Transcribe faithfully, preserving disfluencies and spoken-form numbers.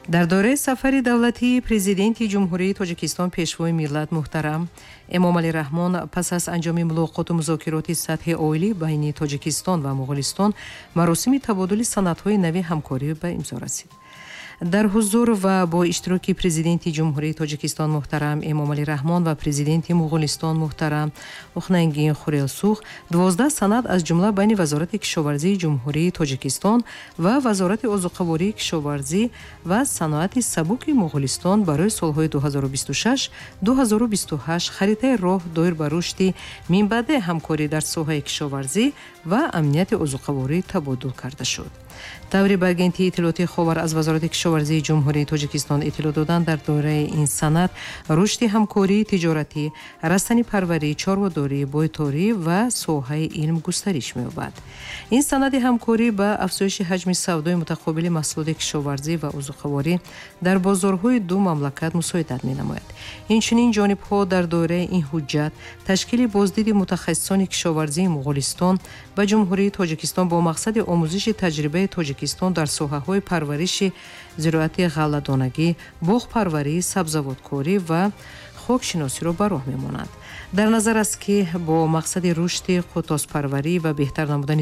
Дар доираи сафари давлатии Президенти Ҷумҳурии Тоҷикистон, Пешвои миллат муҳтарам Эмомалӣ Раҳмон, пас аз анҷоми мулоқоту музокироти сатҳи олӣ байни Тоҷикистон ва Муғулистон, маросими табодули санадҳои нави ҳамкорӣ ба имзо расид. Дар ҳузур ва бо иштироки Президенти Ҷумҳурии Тоҷикистон муҳтарам Эмомалӣ Раҳмон ва Президенти Муғулистон муҳтарам Ухнангин Хурелсух дувоздаҳ санад, аз ҷумла байни Вазорати кишоварзии Ҷумҳурии Тоҷикистон ва Вазорати озуқавории, кишоварзӣ ва саноати сабуки Муғулистон барои солҳои ду ҳазору бисту шаш-ду ҳазору бисту ҳашт, харитаи роҳ доир ба рушди минбаъдаи ҳамкорӣ дар соҳаи кишоварзӣ ва амнияти озуқаворӣ табодул карда шуд. Тавре ба Агентии иттилоотии «Ховар» аз Вазорати кишоварзии Ҷумҳурии Тоҷикистон иттилоъ доданд, дар доираи ин санад рушди ҳамкории тиҷоратӣ, растанипарварӣ, чорводорӣ, бойторӣ ва соҳаи илм густариш меёбад. Ин санади ҳамкорӣ ба афзоиши ҳаҷми савдои мутақобили маҳсулоти кишоварзӣ ва озуқаворӣ дар бозорҳои ду мамлакат мусоидат менамояд. Инчунин ҷонибҳо дар доираи ин ҳуҷҷат ташкили боздиди мутахассисони кишоварзии Муғулистон ба Ҷумҳурии Тоҷикистон бо мақсади омӯзиши таҷрибаи Тоҷикистон дар соҳаҳои парвариши зироати ғалладонагӣ, боғпарварӣ, сабзавоткорӣ ва хокшиносиро ба роҳ мемонанд. Дар назар аст, ки бо мақсади рушди қӯтоспарварӣ ва беҳтар намудани